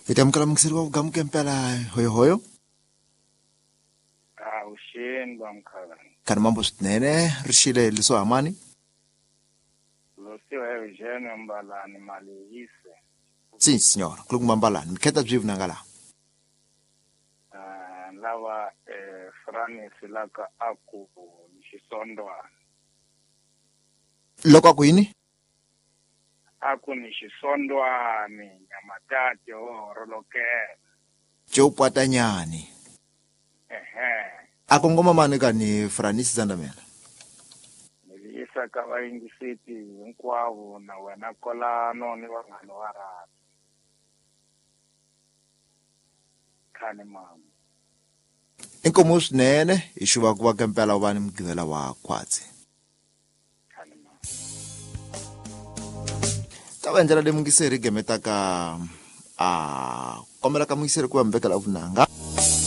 Hi ta amukela muyingiseri wa vugamuke mpela, hoyohoyo. Avuxeni vamkhana. Khani mambo swinene ri xile liso hamani. Losiwa Eugene Mbalani Malihise. Sim senhora, kulukumba Mbalani, mikheta byi vunanga laha. Lava Franis laka aku ni xisondwana. Loko aku yini? Aku ni xisondwani nyamatati ho horolokela. Joe Pwatanyani. Ehe. A kongoma mani ka ni Franis Zandamela. Ni yisa ka vayingiseti hinkwavo na wena kolano ni vanghana wa rhabi. Khani mama. Inkomo swinene hi xuva ku va kempela u va ni mugqivela wa khwatsi. Khani mama. Ta va ndlela leyi mungiseri gemetaka a kombela ka mungiseri ku va mi vekela vunanga.